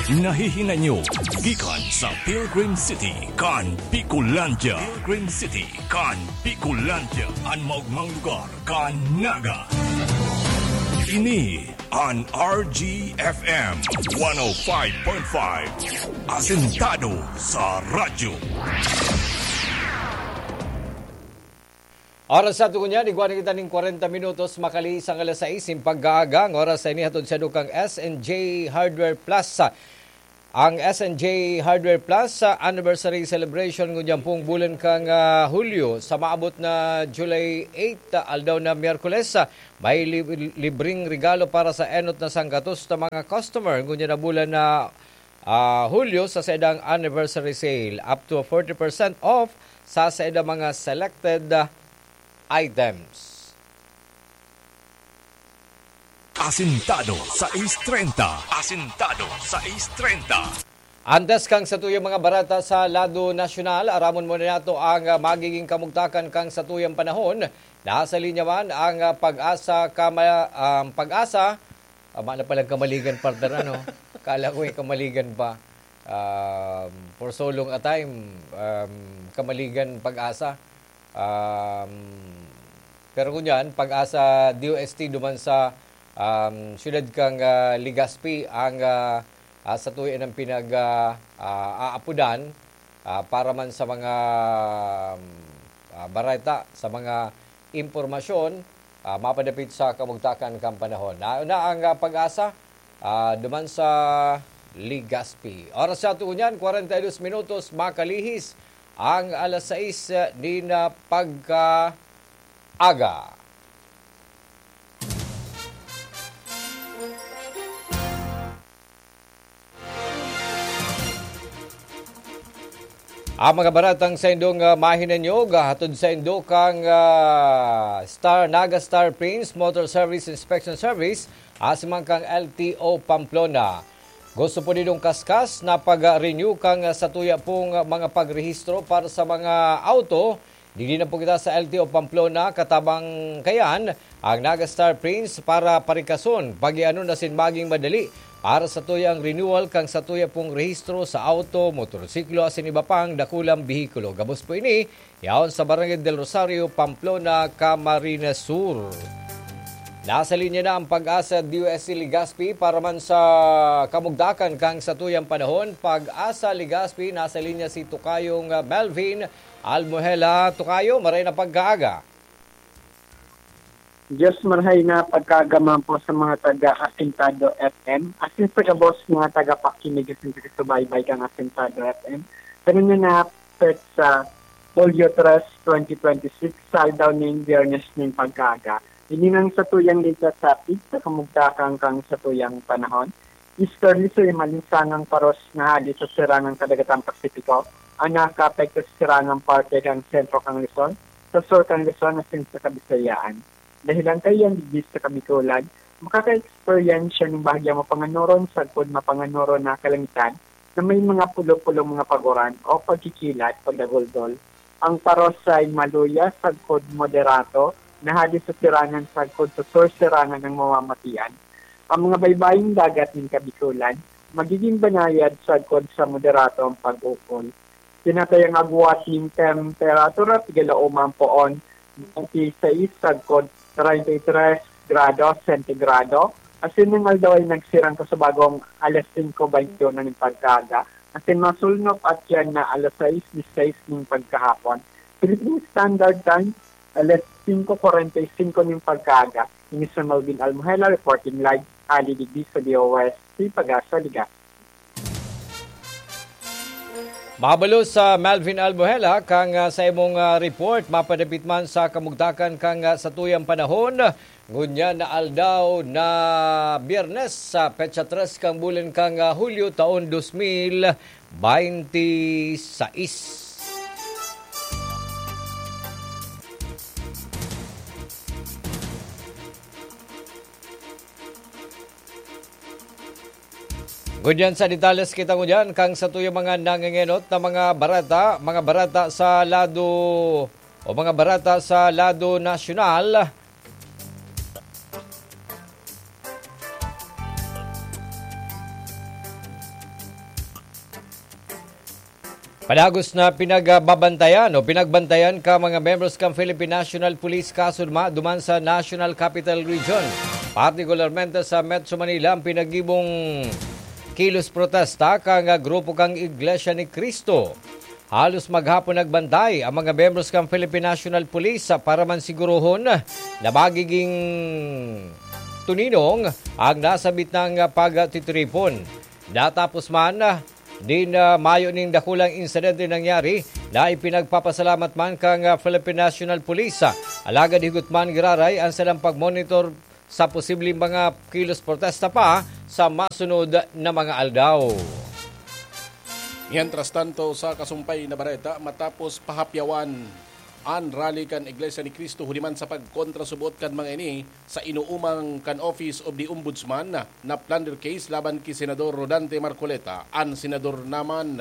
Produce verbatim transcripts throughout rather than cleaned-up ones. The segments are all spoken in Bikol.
Nahihinay nyo gikan sa Pilgrim City kan Bicolandia. Pilgrim City kan Bicolandia, an maogmang lugar kan Naga. Ini an R G F M one oh five point five, asentado sa radyo. Oras sa tugon niya, igwa na kita ning kwarenta minutos, makalihis ang alas sais nin pagkaaga. Ang oras sa ini hatod sa dukang S N J Hardware Plus. Ang S N J Hardware Plus, ah, Anniversary Celebration ngunyan pong bulan kang, ah, Hulyo sa maabot na July eight, ah, aldaw na Miyerkules, ah, may lib-, libreng regalo para sa enot na sanggatos na mga customer ngunyan na bulan na, ah, Hulyo sa saindang anniversary sale, up to forty percent off sa saindang mga selected, ah, items. Asintado sais treinta. Asintado sais treinta. Antes kang satuyang mga bareta sa lado nasyonal, aramon muna nato ang, ah, magiging kamugtakan kang satuyang panahon. Nasa linya man ang, ah, Pag-asa Kama-, um, Pag-asa. Tama na palang Kamaligan, partner, ano? Kala ko, eh, Kamaligan pa. Um, for so long a time, um, Kamaligan, Pag-asa. Um, pero ngunyan, Pag-asa D O S T duman sa, um, siyudad kang, ah, Legazpi ang, ah, ah, satuya nang pinag, ah, ah, aapodan, ah, para man sa mga, um, ah, bareta, sa mga impormasyon, ah, mapadapit sa kamugtakan kan panahon. Na, na ang, ah, Pag-asa, ah, duman sa Legazpi. Oras sa tugon niyan, kwarenta y dos minutos, makalihis ang alas sais, ah, nin, ah, pagkaaga. Ang mga baratang saindong, ah, mahinanyog, ah, hatod saindo kang, ah, Star, Naga Star Prince Motor Service Inspection Service, asin man kang L T O Pamplona. Gusto po nindong kaskas na pag-renew kang, ah, satuya pong, ah, mga pagrehistro para sa mga auto? Digdi na po kita sa L T O Pamplona, katabang kayan ang Naga Star Prince para parikason, pagianon asin maging madali para sa tuyang renewal kan satuya pong rehistro sa auto, motorsiklo asin iba pang dakulang behikulo. Gabos po ini, yaon sa Barangay del Rosario, Pamplona, Camarines Sur. Nasa linya na ang Pag-asa D O S T Legazpi para man sa kamugtakan kan satuyang panahon. Pag-asa Legazpi, nasa linya si Tokayong, ah, Melvin Almohela. Tokayo, maray na pagkaaga. Diyos, marahay na pagkaaga man po sa mga taga Asintado F M, asin sa gabos mga tagapakinig asin taga-subaybay kan Asintado F M. Kami na na petsa Hulyo tres, twenty twenty-six, sa aldaw nin Biyernes nin pagkaaga. Ini nang satuyang ligtas sa pigsa kamugtakan kan satuyang panahon. Easterly sa malinsangang paros na hali sa sirangang kadagatan Pasipiko ang nakakaapekto sa sirangang parte kan sentro kan Luzon, sa sur kan Luzon asin sa Kabisayaan. Dahelan kaiyan digdi sa Kabikolan, makaka-eksperyensya nin bahagyang mapanganuron sagkod mapanganuron na kalangitan na may mga pulo-pulong mga paguran o pagkikilat, pagdaguldol. Ang paros ay maluya sagkod moderato na hali sa sirangan sagkod sa sur sirangan ang mamamatian. Ang mga baybaying dagat nin Kabikolan, magiging banayad sagkod sa moderato ang pag-ukol. Tinatayang agwat nin temperatura, pigalaoman poon, twenty-six sagkod treinta y tres grado sentigrado. Asin ning aldaw ay nagsirang kasubagong alas singko baynte uno nin pagkaaga. Asin masulnop at yan na alas sais disisais nin pagkahapon. Philippine Standard Time, alas singko kwarenta y singko nin pagkaaga. Ini si Melvin Almuhela reporting live, hali digdi sa D O S T Pag-asa, Liga. Mabalos sa Melvin Albuhela, kang, ah, sa imong, ah, report, mapadapit man sa kamugtakan kang, ah, satuyang panahon. Ngunyan na aldaw na Biyernes, sa petsa tres kang bulan kang, ah, Hulyo, taon dos mil baynte sais. Ngunyan sa detalles kita ngunyan kang satuyang mga nangengenot na mga bareta, mga bareta sa lado o mga bareta sa lado nasyonal. Padagos na pinagbabantayan o pinagbantayan ka mga membros kan Philippine National Police kaso duma-, duman sa National Capital Region, partikularmente sa Metro Manila, ang pinagibong kilos protesta kan grupo kan Iglesia ni Cristo. Halos maghapon nagbantay ang mga membros kan Philippine National Police sa para man sigurohon na magiging tuninong ang nasabit ng pagtitiripon. Natapos man, din, ah, mayo ning dakulang insidente nangyari na ipinagpapasalamat man kan, ah, Philippine National Police. Alagad higot man giraray ang salang pagmonitor sa posibleng mga kilos protesta pa sa masunod na mga aldaw. Mientras tanto, sa kasumpay na bareta, matapos pahapyawan an rally kan Iglesia ni Cristo huli man sa pagkontrasubot kan mga ini sa inuumang kan Office of the Ombudsman na plunder case laban ki Senador Rodante Marcoleta, an senador naman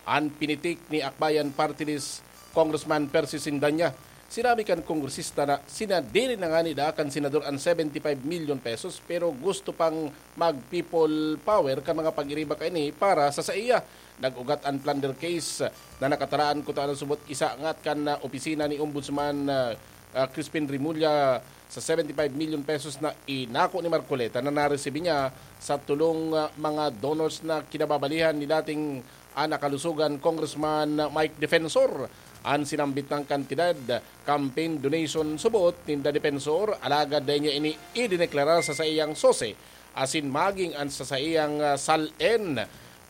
an pinitik ni Akbayan Party List Congressman Percy Sindanya. Sinabi kan kongresista na sinadiri na ngani daa kan senador an seventy-five million pesos, pero gusto pang mag-people power kan mga pag-iriba kaini para sa saiya. Nag-ugat an plunder case na nakataraan kutana subot isa ngat kan, ah, opisina ni Ombudsman, ah, ah, Crispin Remulla sa seventy-five million pesos na inako ni Marcoleta na naresibi niya sa tulong, ah, mga donors na kinababalihan ni dating, ah, nakalusogan Congressman Mike Defensor. An sinambit na kantidad, campaign donation subot ninda Defensor, alagad dai niya ini idineklara sa saiyang sose asin maging an sa saiyang, ah, sal-en.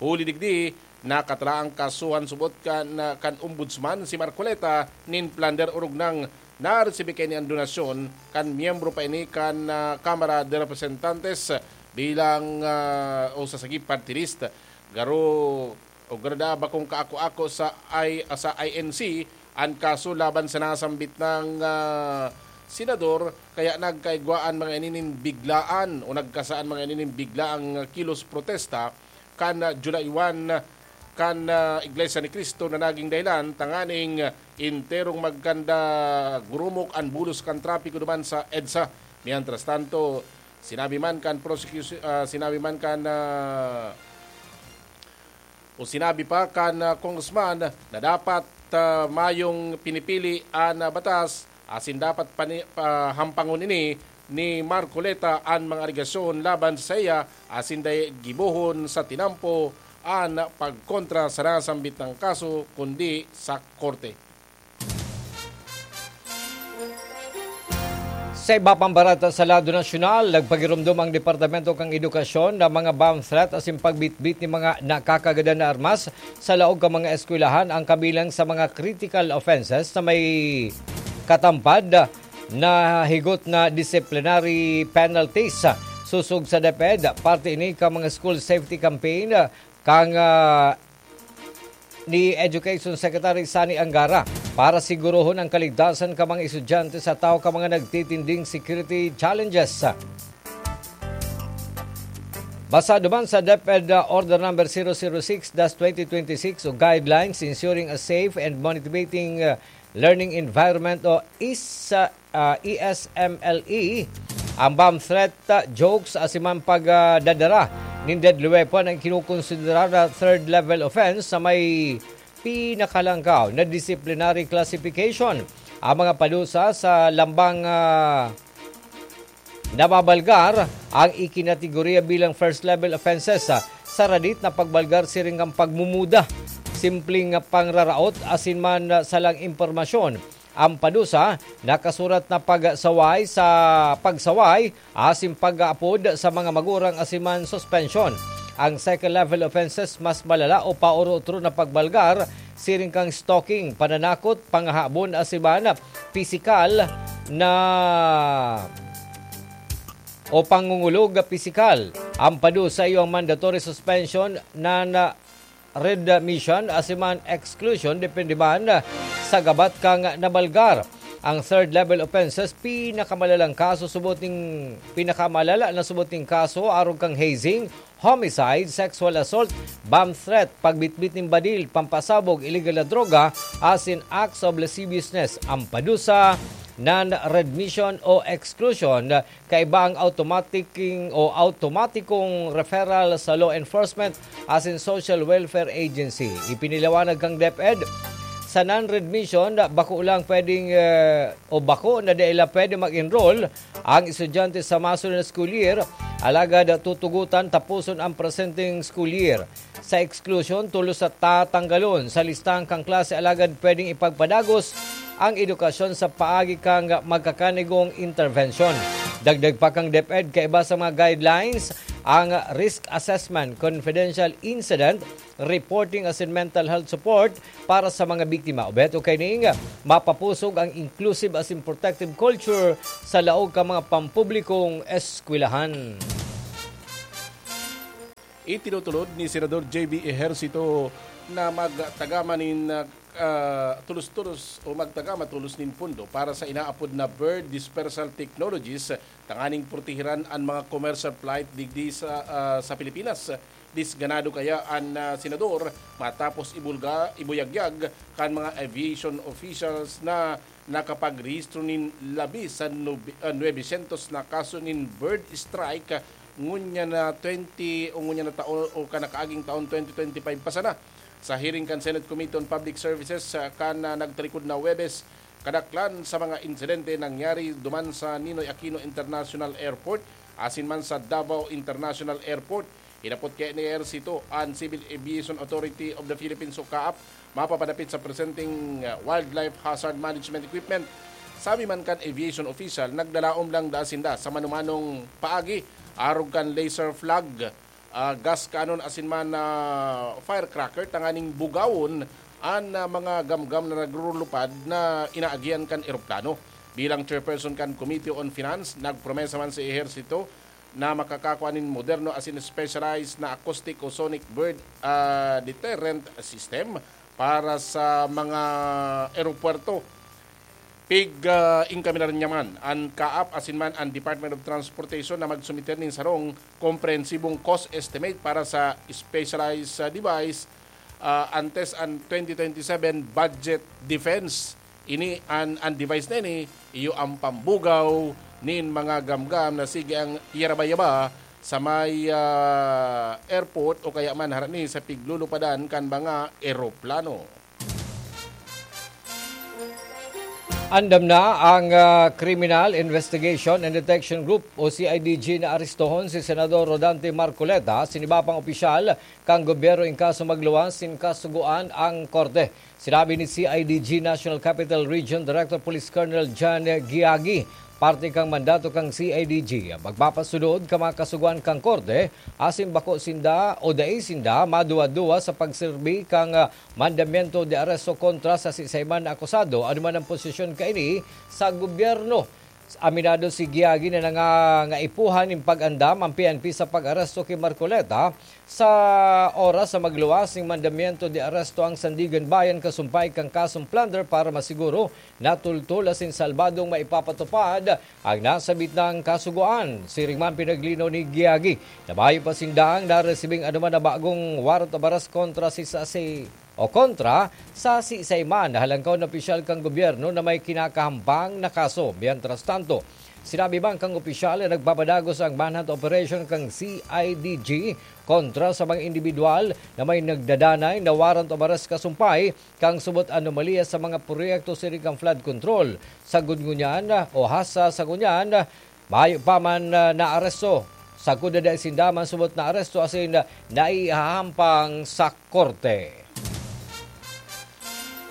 Huli digdi, nakataraan kasuhan subot kan, ah, kan Ombudsman si Marcoleta nin plunder orog nang naresibi kaini an donasyon kan miyembro pa ini kan, ah, Kamara de Representantes bilang, ah, o sa sagip party list. Garo o garo daa bakong kaako-ako sa I-, sa I N C an kaso laban sa nasambit na, ah, senador, kaya nagkaigwaan mga ini nin biglaan o nagkasaan mga ini nin biglaang kilos protesta kan, ah, July one kan, ah, Iglesia ni Cristo na naging dahilan tanganing enterong magkanda gurumok an bulos kan trapiko duman sa EDSA. Mientras tanto, sinabi man kan prosecution, ah, sinabi man kan, ah, o sinabi pa kan, ah, congressman na dapat, ah, mayong pinipili an, ah, batas asin dapat pani-, pa-, hampangon ini ni Marcoleta an mga alegasyon laban sa saiya asin dai gibohon sa tinampo an pagkontra sa nasambit na kaso kundi sa korte. Sa iba pang bareta sa lado nasyonal, nagpagiromdom ang Departamento kan Edukasyon na mga bomb threat asin pagbitbit ni mga nakakagadan na armas sa laog kan mga eskwelahan ang kabilang sa mga critical offenses na may katampad na higot na disciplinary penalties. Sosog sa DepEd, parte ini kan mga school safety campaign kan, ah, ni Education Secretary Sonny Angara para sigurohon ang kaligtasan kan mga estudyante sa tao kan mga nagtitinding security challenges. Basado man sa DepEd Order Number zero zero six dash twenty twenty-six o Guidelines Ensuring a Safe and Motivating, uh, Learning Environment o is, uh, uh, E S M L E, ang bomb threat, uh, jokes, asin man pagdadara nin deadly weapon ang kinukonsidera na third level offense sa may pinakalangkaw na disciplinary classification. Ang mga padusa sa lambang, ah, nababalgar ang ikinategorya bilang first level offenses, ah, sa radit na pagbalgar siring kan pagmumuda, simpleng pangraraot asin man, ah, salang impormasyon. Ang padusa, nakasurat na pagsaway sa pagsaway asin pag-aapod sa mga magurang asin man suspensyon. Ang second level offenses mas malala o paoro-otro na pagbalgar, siring kang stalking, pananakot, pangahabon asin man pisikal na o pangungulog pisikal. Ang padusa iyo ang mandatory suspension na, na readmission asin man exclusion, depende man sa gabat kang nabalgar. Ang third level offenses, pinakamalalang kaso subot ning, pinakamalala na subot ning kaso arog kang hazing, homicide, sexual assault, bomb threat, pagbitbit nin badil, pampasabog, illegal na droga, asin acts of lasciviousness. Ang padusa, Non-readmission o exclusion, kaiba ang automatic o automatikong referral sa law enforcement asin social welfare agency. Ipinaliwanag kan DepEd, sa non-readmission, bako lang pwedeng, eh, o bako na dai la pwede mag-enroll ang estudyante sa masunod na school year, alagad tutugutan tapuson ang presenteng school year. Sa exclusion, tolos sa tatanggalon sa listahan kan klase, alagad pwedeng ipagpadagos ang edukasyon sa paagi kan magkakanigong intervention. Dagdag pa kan DepEd, kaiba sa mga guidelines, ang risk assessment, confidential incident reporting asin mental health support para sa mga biktima. Obheto kaining mapapusog ang inclusive asin protective culture sa laog kan mga pampublikong eskwelahan. Itinutulod ni Senador J B Ejercito na magtagama nin, ah, tulos-tulos o magtagama tulos nin pondo para sa inaapod na bird dispersal technologies tanganing protehiran an mga commercial flight digdi sa, ah, sa Pilipinas. Disganado kaya an, ah, senador matapos ibulga, ibuyagyag kan mga aviation officials na nakapagrehistro nin labi sa nobe-, ah, nuebe syentos na kaso nin bird strike ngunyan na twenty o ngunyan na taon o kan nakaaging taon twenty twenty-five pa sana. Sa hearing kan Senate Committee on Public Services, ah, kan, ah, nagtalikod na Huwebes, kadaklan sa mga insidente nangyari duman sa Ninoy Aquino International Airport asin man sa Davao International Airport. Hinapot kaya ni Ejercito an Civil Aviation Authority of the Philippines o CAAP mapapadapit sa presenteng, ah, wildlife hazard management equipment. Sabi man kan aviation official, naglalaom lang daa sinda sa manumanong paagi arog kan laser flag, ah, gas cannon asin man, ah, firecracker tanganing bugawon an, ah, mga gamgam na nagrurulupad na inaagihan kan eroplano. Bilang chairperson kan Committee on Finance, nagpromesa man si Ejercito na makakakua nin moderno asin specialized na acoustic o sonic bird, ah, deterrent system para sa mga eropuwerto. Pig, ah, inkaminar niya man an CAAP asin man an Department of Transportation na magsumiter nin sarong komprehensibong cost estimate para sa specialized, ah, device, ah, antes an twenty twenty-seven budget defense. Ini an, an device na ini, iyo ang pambugaw nin mga gamgam na sige ang yarabayaba sa may, ah, airport o kaya man harani sa piglulupadan kan mga eroplano. Andam na ang, ah, Criminal Investigation and Detection Group o C I D G na arestohon si Senador Rodante Marcoleta asin iba pang opisyal kan gobyerno in kaso magluwas nin kasugoan ang korte. Sinabi ni C I D G National Capital Region Director Police Colonel John Giagi, parte kan mandato kan C I D G, magpapasunod kan mga kasugoan kan korte asin bako sinda o dai sinda maduwa-duwa sa pagserbi kan, ah, mandamiento de aresto kontra sa siisay man na akusado, ano man ang posisyon kaini sa gobyerno. Aminado si Giagi na nangangaipuhan nin pag-andam ang P N P sa pag-aresto ki Marcoleta sa oras sa magluwas nin mandamiento de aresto ang Sandiganbayan kasumpay kan kasong plunder para masiguro na tultol asin salbadong maipapatupad ang nasabit nang kasugoan. Siring man, pinaglinaw ni Giagi na mayo pa sindang naresibing anoman na bagong warrant of arrest kontra si, sa, si, o kontra sa siisay man na halangkaw na opisyal kan gobyerno na may kinakahambang na kaso. Mientras tanto, sinabi man kan opisyal na nagpapadagos ang manhunt operation kan C I D G kontra sa mga indibidwal na may nagdadanay na warrant of arrest kasumpay kan subot anomalya sa mga proyekto siring kan flood control. Sagkod ngunyan, o hasta sa ngunyan, mayo pa man, ah, naaresto. Sagkod na dai sinda man subot naaresto asin naihahampang sa korte.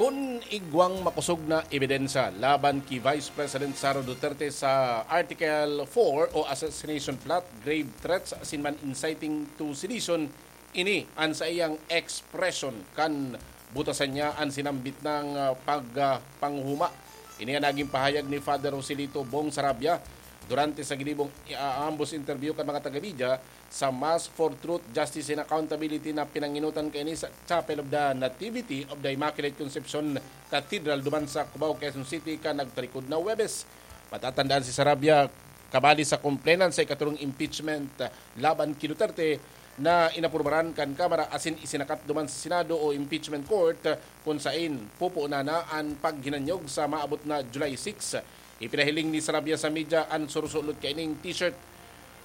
Kun igwang makosog na ebidensya laban ki Vice President Sara Duterte sa Article four o assassination plot, grave threats asin man inciting to sedition, ini an saiyang ekspresyon kan butasan niya an sinambit nang, ah, pag, ah, panghuma. Ini an naging pahayag ni Father Joselito Bong Sarabia durante sa ginibong, ah, ambos interview kan mga taga-media sa Mass for Truth, Justice and Accountability na pinangenotan kaini sa Chapel of the Nativity of the Immaculate Conception Cathedral duman sa Cubao, Quezon City, kan nagtalikod na Huwebes. Matatandaan si Sarabia, kabali sa complainant sa ikatulong impeachment, ah, laban ki Duterte na inaprubaran kan Kamara asin isinakat duman sa Senado o impeachment court, ah, kun sain pupuonan na an paghinanyog sa maabot na July six. Ipinahiling ni Sarabia sa media an surusulod kaining t-shirt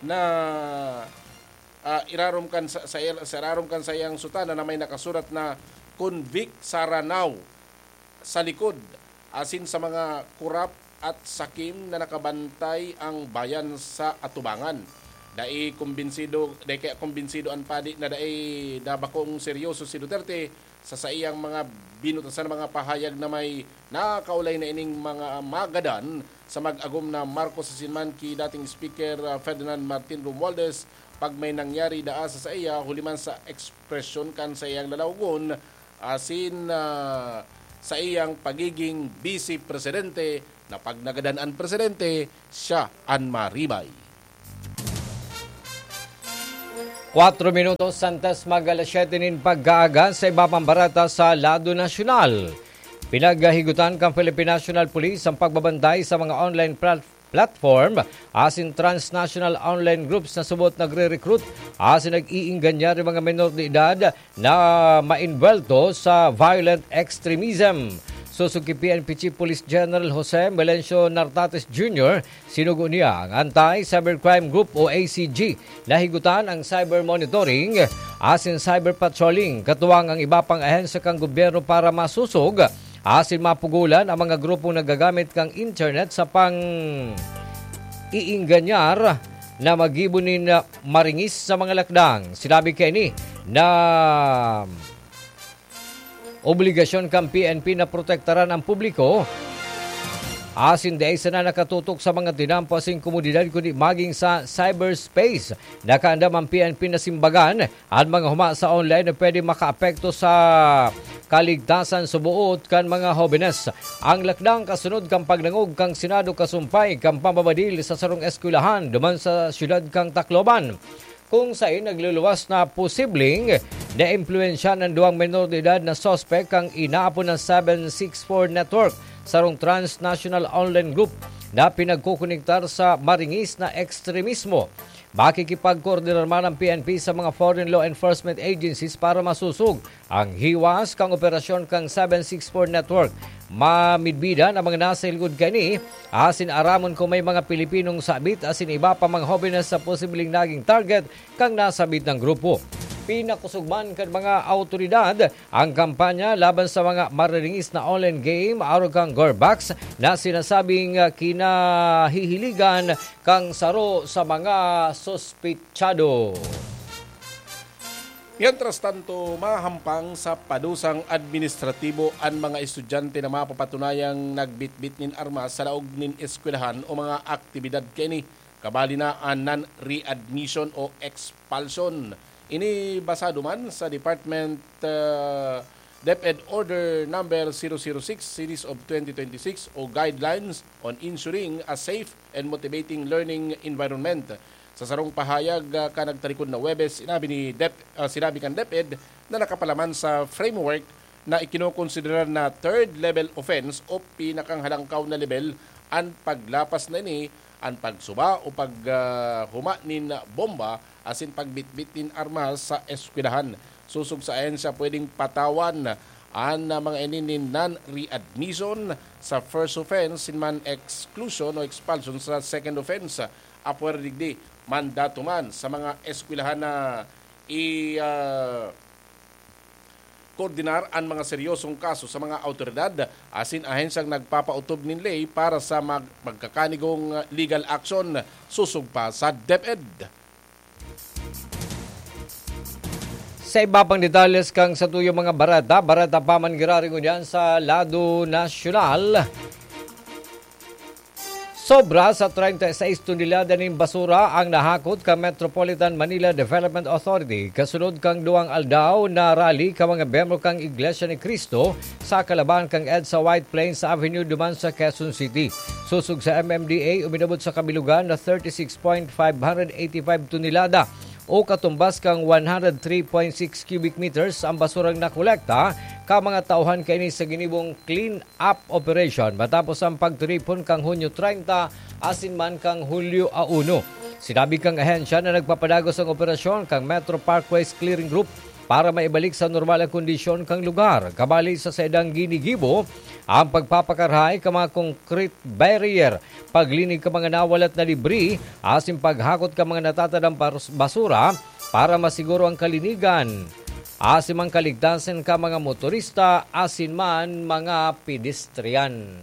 na, ah, irarom kan sa, sa, sa irarom kan saiyang sutana na may nakasurat na "Convict Sara Now" sa likod, asin sa mga kurap at sakim na nakabantay ang bayan sa atubangan. Dai kumbinsido, dai kaya kumbinsido an padi na dai na bakong seryoso si Duterte sa saiyang mga binutasan na mga pahayag na may nakaulay na ining mga magadan sa mag-agom na Marcos asin man ki dating Speaker, ah, Ferdinand Martin Romualdez pag may nangyari daa sa saiya huli man sa ekspresyon kan saiyang lalawgon asin, ah, saiyang pagiging Bise Presidente na pag nagadan an Presidente, siya an maribay. Kwatro minutos antes mag alas siyete nin pagkaaga sa iba pang bareta sa lado nasyonal. Pinagahigutan kan Philippine National Police ang pagbabantay sa mga online plat-, platform asin transnational online groups na subot nagre-recruit asin nag-iingganyar nin mga menor de edad na maenvuelto sa violent extremism. Sosog ki P N P Chief Police General Jose Melencio Nartates Junior, sinugo niya ang Anti-Cybercrime Group o A C G na higutan ang cyber monitoring asin cyber patrolling, katuwang ang iba pang ahensya kan gobyerno para masosog asin mapugolan ang mga grupong naggagamit kan internet sa pang-iingganyar na maggibo nin maringis sa mga lakdang. Sinabi kaini na obligasyon kan P N P na protektaran ang publiko asin dai sana nakatutok sa mga tinampo asin komodidad kundi magin sa cyberspace. Nakaandam ang P N P na simbagan an mga huma sa online na pwede makaapekto sa kaligtasan suboot kan mga hobenes. Ang lakdang kasunod kan pagdangog kan Senado kasumpay kan pambabadil sa sarong eskwelahan duman sa siyudad kan Tacloban, kung saen nagluluwas na posibleng naimpluwensyahan an duwang menor de edad na suspek kan inaapod na seven six four Network, sarong transnational online group na pinagkokonektar sa maringis na ekstremismo. Makikipagkoordinar man ang P N P sa mga foreign law enforcement agencies para masosog ang hiwas kan operasyon kan seven six four Network. Mamidbidan ang mga nasa hilgod kaini asin aramon kung may mga Pilipinong sabit asin iba pa mga hobenes sa posibleng naging target kan nasabit na grupo. Pinakosog man kan mga awtoridad ang kampanya laban sa mga mariringis na online game arog kan Gorbax na sinasabing, ah, kinahihiligan kan saro sa mga suspitsado. Mientras tanto, mahampang sa padusang administratibo an mga estudyante na mapapatunayang nagbitbit nin armas sa laog nin eskwelahan o mga aktibidad kaini, kabali na an non-readmission o expulsion. Ini basado man sa Department, ah, DepEd Order Number zero zero six Series of twenty twenty-six o Guidelines on Ensuring a Safe and Motivating Learning Environment. Sa sarong pahayag, ah, kan nagtalikod na Huwebes, sinabi ni Dep-, ah, sinabi kan DepEd na nakapalaman sa framework na ikinokonsidera na third level offense o pinakanghalangkaw na lebel an paglapas na ini, an pagsuba o pag, ah, huma nin bomba asin pagbitbit nin armas sa eskwelahan. Sosog sa ahensya, pwedeng patawan an, ah, mga ini nin non-readmission sa first offense, sin man exclusion o expulsion sa second offense. Apwera digdi, mandato man sa mga eskwelahan na i, ah, koordinar an mga seryosong kaso sa mga awtoridad asin ahensyang nagpapautob nin ley para sa mag-, magkakanigong legal action sosog pa sa DepEd. Sa iba pang detalles kan satuyang mga bareta, bareta pa man giraray ngunyan sa lado nasyonal. Sobra sa treinta y seis tonelada nin basura ang nahakot kan Metropolitan Manila Development Authority kasunod kan duwang aldaw na rally kan mga miyembro kan Iglesia ni Cristo sa kalabahan kan EDSA White Plains Avenue duman sa Quezon City. Sosog sa M M D A, uminabot sa kabilugan na thirty-six point five hundred eighty-five tonelada o katumbas kan one hundred three point six cubic meters ang basurang nakolekta kan mga tauhan kaini sa ginibong clean up operation matapos ang pagtiripon kan Hunyo treinta asin man kan Hulyo a uno. Sinabi kan ahensya na nagpapadagos ang operasyon kan Metro Parkways Clearing Group para maibalik sa normal ang kondisyon kan lugar. Kabali sa saindang ginigibo ang pagpapakarahay kan mga concrete barrier, paglinig kan mga nawalat na debris, asin paghakot kan mga natatadang bas-, basura para masiguro ang kalinigan asin man kaligtasan kan mga motorista asin man mga pedestrian.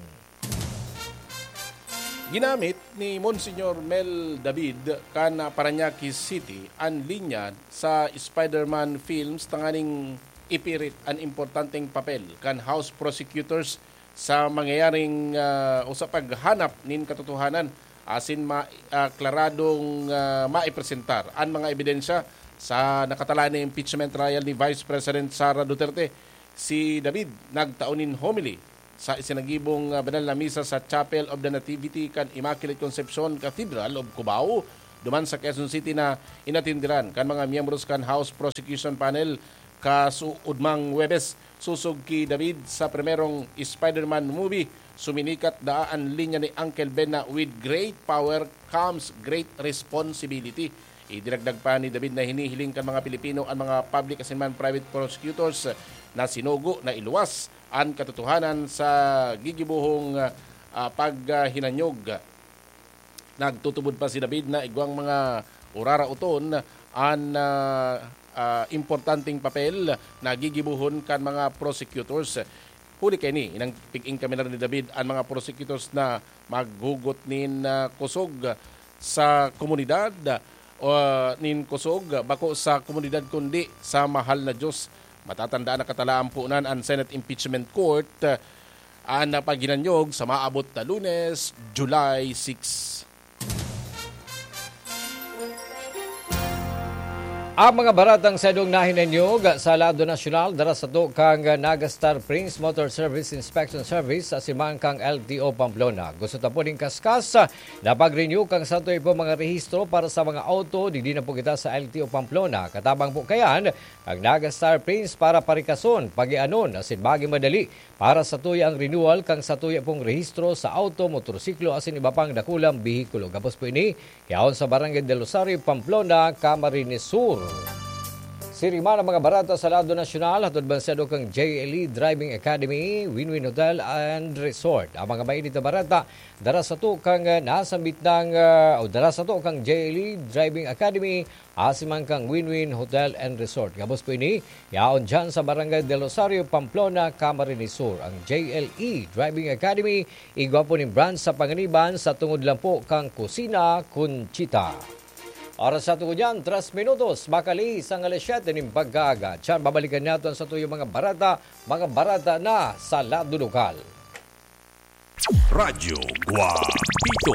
Ginamit ni Monsignor Mel David kan Parañaque City an linya sa Spider-Man films tanganing ipirit an importanteng papel kan House Prosecutors sa mangyayaring, ah, o sa paghanap nin katotohanan asin ma-, ah, klaradong, ah, maipresentar an mga ebidensya sa nakatalaan na impeachment trial ni Vice President Sara Duterte. Si David nagtao nin homily sa isinagibong, ah, banal na misa sa Chapel of the Nativity kan Immaculate Concepcion Cathedral of Cubao, duman sa Quezon City, na inatenderan kan mga miyembros kan House Prosecution Panel kasuodmang Huwebes. Sosog ki David, sa primerong Spider-Man movie, suminikat daa an linya ni Uncle Ben na, "With great power comes great responsibility." Idinagdag pa ni David na hinihiling kan mga Pilipino an mga public asin man private prosecutors na sinugo na iluwas an katotohanan sa gigibohong, ah, paghinanyog. Nagtutubod pa si David na igwang mga uraraoton an, ah, ah, importanteng papel na gigibohon kan mga prosecutors. Huli kaini, inang pig-ingkaminar ni David an mga prosecutors na maghugot nin, ah, kusog sa komunidad, o nin kusog, bako sa komunidad kundi sa mahal na Diyos. Matatandaan na katalaan po nan an Senate Impeachment Court, ah, an paghinanyog sa maabot na Lunes, July six. Ang mga baratang sadong nahinanyog sa lado nasyonal, dara sato kang Naga Star Prince Motor Service Inspection Service sa simang kang L T O Pamplona. Gusto ta po ning kaskas na pag-renew kang satoy po mga rehistro para sa mga auto, digdi na po kita sa L T O Pamplona. Katabang po kayan, ang Naga Star Prince para parikason, pagianon, asin magin madali para sa tuya ang renewal kan satuya pong rehistro sa auto, motorsiklo asin iba pang dakulang behikulo. Gabos po ini, yaon sa Barangay del Rosario, Pamplona, Camarines Sur. Siring man ang mga barata sa lado nasyonal, hatod man sa kang J L E Driving Academy, Win-Win Hotel and Resort. Ang mga mainit na barata, dara sato kang, ah, nasambit ng, ah, o dara sato kang J L E Driving Academy, asin man kang Win-Win Hotel and Resort. Gabos po ini, yaon dyan sa Barangay del Rosario, Pamplona, Camarines Sur. Ang J L E Driving Academy, igwa po nin branch sa Panganiban, sa tungod lang po kang Kusina Conchita. Oras sa tungod yan, tres minutos, makalihis ang alas siyete nin pagkaaga. Tiyan, babalikan natin sa tuyong mga barata, mga barata na sa lado lokal. Radyo Guapito.